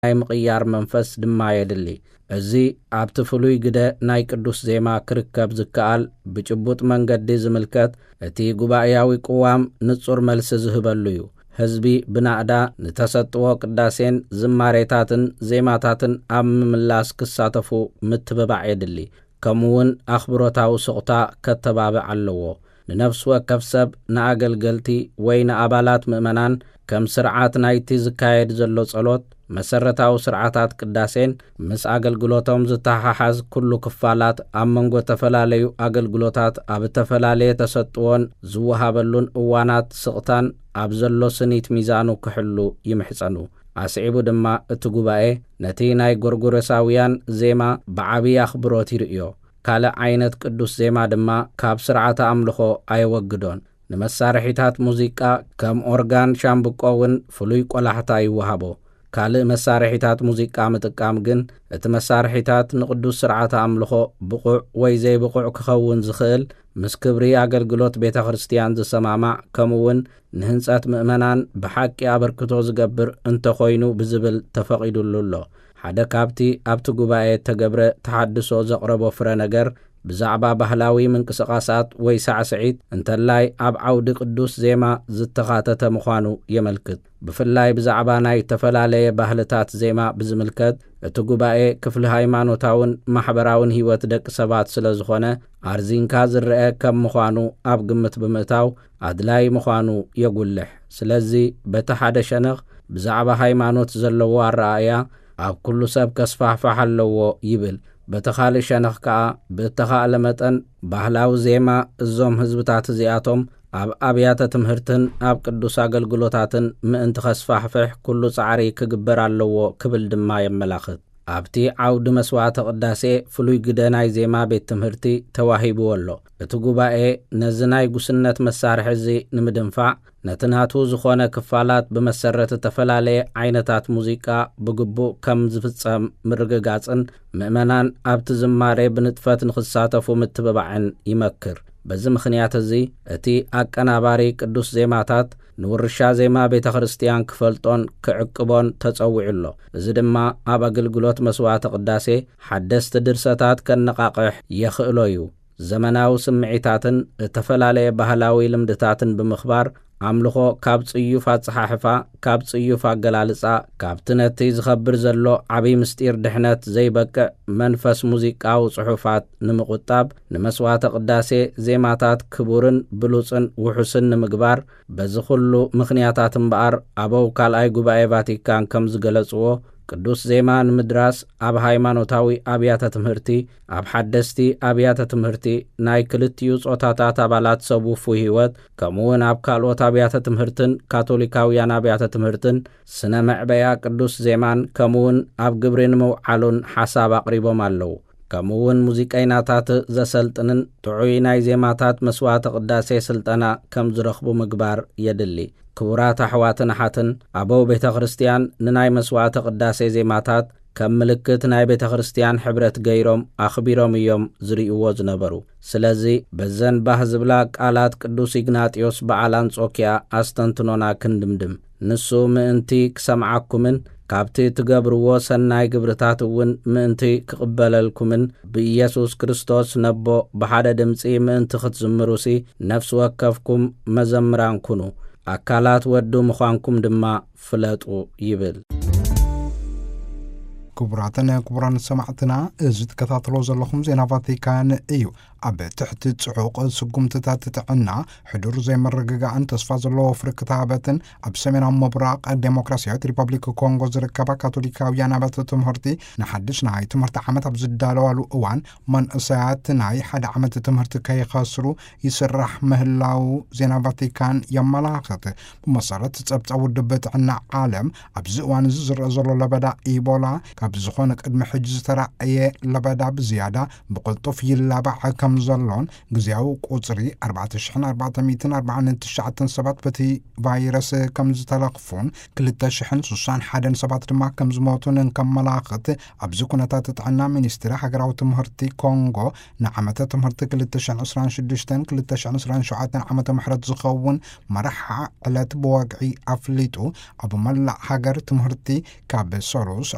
ናይ ምቕያር መንፈስ ድማ የድሊ። እዚ ኣብቲ ፍሉይ ግደ ናይ ቅዱስ ዜማ ክርከብ ዝከኣል ብጭቡጥ መንገዲ ዝምልከት እቲ ጉባኤያዊ ቅዋም ንጹር መልሲ ዝህበሉ እዩ። ህዝቢ ብናእዳ ንተሰጥዎ ቅዳሴን ዝማሬታትን ዜማታትን ኣብ ምምላስ ክሳተፉ ምትብባዕ የድሊ። ከምኡ እውን ኣኽብሮታዊ ስቕታ ከተባብዕ ኣለዎ። ንነፍሲ ወከፍ ሰብ፣ ንኣገልገልቲ ወይ ንኣባላት ምእመናን ከም ስርዓት ናይቲ ዝካየድ ዘሎ ጸሎት፣ መሰረታዊ ስርዓታት ቅዳሴን ምስ ኣገልግሎቶም ዝተሓሓዝ ኩሉ ክፋላት ኣብ መንጎ ተፈላለዩ ኣገልግሎታት ኣብ እተፈላለየ ተሰጥዎን ዝወሃበሉን እዋናት ስቕታን ኣብ ዘሎ ስኒት ሚዛኑ ክሕሉ ይምሕጸኑ። ኣስዒቡ ድማ እቲ ጉባኤ ነቲ ናይ ጎርጎሮሳውያን ዜማ ብዓቢ ኣኽብሮት ይርእዮ። ካልእ ዓይነት ቅዱስ ዜማ ድማ ካብ ስርዓተ ኣምልኾ ኣየወግዶን። ንመሳርሒታት ሙዚቃ ከም ኦርጋን ሻምብቆ እውን ፍሉይ ቆላሕታ ይወሃቦ። ካልእ መሳርሒታት ሙዚቃ ምጥቃም ግን እቲ መሳርሒታት ንቅዱስ ስርዓተ ኣምልኾ ብቑዕ ወይ ዘይብቑዕ ክኸውን ዝኽእል፣ ምስ ክብሪ ኣገልግሎት ቤተ ክርስቲያን ዝሰማማዕ፣ ከምኡ እውን ንህንጸት ምእመናን ብሓቂ ኣበርክቶ ዝገብር እንተኾይኑ ብዝብል ተፈቒዱሉ ኣሎ። ሓደ ካብቲ ኣብቲ ጉባኤ እተገብረ ተሓድሶ ዘቕረቦ ፍረ ነገር ብዛዕባ ባህላዊ ምንቅስቓሳት ወይ ሳዕስዒት እንተላይ ኣብ ዓውዲ ቅዱስ ዜማ ዝተኻተተ ምዃኑ የመልክት። ብፍላይ ብዛዕባ ናይ እተፈላለየ ባህልታት ዜማ ብዝምልከት፣ እቲ ጉባኤ ክፍሊ ሃይማኖታውን ማሕበራውን ህይወት ደቂ ሰባት ስለ ዝኾነ፣ ኣርዚንካ ዝረአ ከም ምዃኑ ኣብ ግምት ብምእታው ኣድላይ ምዃኑ የጉልሕ። ስለዚ በቲ ሓደ ሸነኽ ብዛዕባ ሃይማኖት ዘለዎ ኣረኣእያ ኣብ ኩሉ ሰብ ከስፋሕፋሕ ኣለዎ ይብል። በቲ ካልእ ሸነኽ ከኣ ብእተኻእለ መጠን ባህላዊ ዜማ እዞም ህዝብታት እዚኣቶም ኣብ ኣብያተ ትምህርትን ኣብ ቅዱስ ኣገልግሎታትን ምእንቲ ከስፋሕፍሕ ኩሉ ጻዕሪ ክግበር ኣለዎ ክብል ድማ የመላኽት። ኣብቲ ዓውዲ መስዋዕተ ቅዳሴ ፍሉይ ግደ ናይ ዜማ ቤት ትምህርቲ ተዋሂብዎ ኣሎ። እቲ ጉባኤ ነዚ ናይ ጉስነት መሳርሒ እዚ ንምድንፋዕ ነቲ ናቱ ዝኾነ ክፋላት ብመሰረት እተፈላለየ ዓይነታት ሙዚቃ ብግቡእ ከም ዝፍጸም ምርግጋጽን ምእመናን ኣብቲ ዝማሬ ብንጥፈት ንኽሳተፉ ምትብባዕን ይመክር። በዚ ምኽንያት እዚ እቲ ኣቀናባሪ ቅዱስ ዜማታት ንውርሻ ዜማ ቤተ ክርስቲያን ክፈልጦን ክዕቅቦን ተጸዊዑ ኣሎ። እዚ ድማ ኣብ ኣገልግሎት መስዋዕተ ቅዳሴ ሓደስቲ ድርሰታት ከነቓቕሕ የኽእሎ እዩ። ዘመናዊ ስምዒታትን እተፈላለየ ባህላዊ ልምድታትን ብምኽባር፣ ኣምልኾ ካብ ጽዩፍ ኣጸሓሕፋ፣ ካብ ጽዩፍ ኣገላልጻ፣ ካብቲ ነቲ ዝኸብር ዘሎ ዓቢ ምስጢር ድሕነት ዘይበቅዕ መንፈስ ሙዚቃዊ ጽሑፋት ንምቑጣብ፣ ንመስዋዕተ ቅዳሴ ዜማታት ክቡርን ብሉጽን ውሑስን ንምግባር፣ በዚ ኹሉ ምኽንያታት እምበኣር፣ ኣበው ካልኣይ ጉባኤ ቫቲካን ከም ዝገለጽዎ፣ ቅዱስ ዜማ ንምድራስ ኣብ ሃይማኖታዊ ኣብያተ ትምህርቲ፣ ኣብ ሓደስቲ ኣብያተ ትምህርቲ፣ ናይ ክልቲኡ ጾታታት ኣባላት ሰብ ውፉይ ህይወት፣ ከምኡውን ኣብ ካልኦት ኣብያተ ትምህርትን ካቶሊካውያን ኣብያተ ትምህርትን ስነ መዕበያ ቅዱስ ዜማን ከምኡውን ኣብ ግብሪ ንምውዓሉን ሓሳብ ኣቕሪቦም ኣለዉ። ከምኡውን ሙዚቀይናታት ዘሰልጥንን ጥዑይ ናይ ዜማታት መስዋዕተ ቅዳሴ ስልጠና ከም ዝረኽቡ ምግባር የድሊ። ክቡራት ኣሕዋትን ኣሓትን፣ ኣበው ቤተ ክርስቲያን ንናይ መስዋዕተ ቅዳሴ ዜማታት ከም ምልክት ናይ ቤተ ክርስቲያን ሕብረት ገይሮም ኣኽቢሮም እዮም ዝርእይዎ ዝነበሩ። ስለዚ በዘን ባህ ዝብላ ቃላት ቅዱስ ኢግናጢዮስ በዓል ኣንጾኪያ ኣስተንትኖና ክንድምድም። ንሱ ምእንቲ ክሰምዓኩምን ካብቲ ትገብርዎ ሰናይ ግብርታት እውን ምእንቲ ክቕበለልኩምን ብኢየሱስ ክርስቶስ ነቦ ብሓደ ድምጺ ምእንቲ ክትዝምሩሲ ነፍሲ ወከፍኩም መዘምራን ኩኑ፣ ኣካላት ወዱ ምዃንኩም ድማ ፍለጡ ይብል። ክቡራትን ክቡራን ሰማዕትና፣ እዚ ትከታተሎ ዘለኹም ዜና ቫቲካን እዩ። ኣብ ትሕቲ ጽዑቕ ስጉምትታት ጥዕና፣ ሕዱር ዘይምርግጋእን ተስፋ ዘለዎ ፍርክታበትን ኣብ ሰሜናዊ ምብራቕ ዴሞክራሲያዊት ሪፐብሊክ ኮንጎ ዝርከባ ካቶሊካውያን ኣብያተ ትምህርቲ ንሓድሽ ናይ ትምህርቲ ዓመት ኣብ ዝዳለዋሉ እዋን፣ መንእሰያት ናይ ሓደ ዓመት ትምህርቲ ከይኸስሩ ይስራሕ ምህላው ዜና ቫቲካን የመላኽት። ብመሰረት ጸብጻብ ውድብ ጥዕና ዓለም፣ ኣብዚ እዋን እዚ ዝረአ ዘሎ ለበዳ ኢቦላ ካብ ዝኾነ ቅድሚ ሕጂ ዝተራእየ ለበዳ ብዝያዳ ብቕልጡፍ ይላባዕ ከም ዘሎን፣ ግዜያዊ ቁጽሪ ኣርባዕተ ሽሕን ኣርባዕተ ሚእትን ኣርባዓን ትሽዓተን ሰባት በቲ ቫይረስ ከም ዝተለኽፉን፣ ክልተ ሽሕን ስሳን ሓደን ሰባት ድማ ከም ዝሞቱን እንከመላኽት፣ ኣብዚ ኩነታት ጥዕና ሚኒስትሪ ሃገራዊ ትምህርቲ ኮንጎ ንዓመተ ትምህርቲ ክልተ ሽሕን ዕስራን ሽዱሽተን ክልተ ሽሕን ዕስራን ሸውዓተን ዓመተ ምሕረት ዝኸውን መርሓ ዕለት ብወግዒ ኣፍሊጡ፣ ኣብ መላእ ሃገር ትምህርቲ ካብ ሰሉስ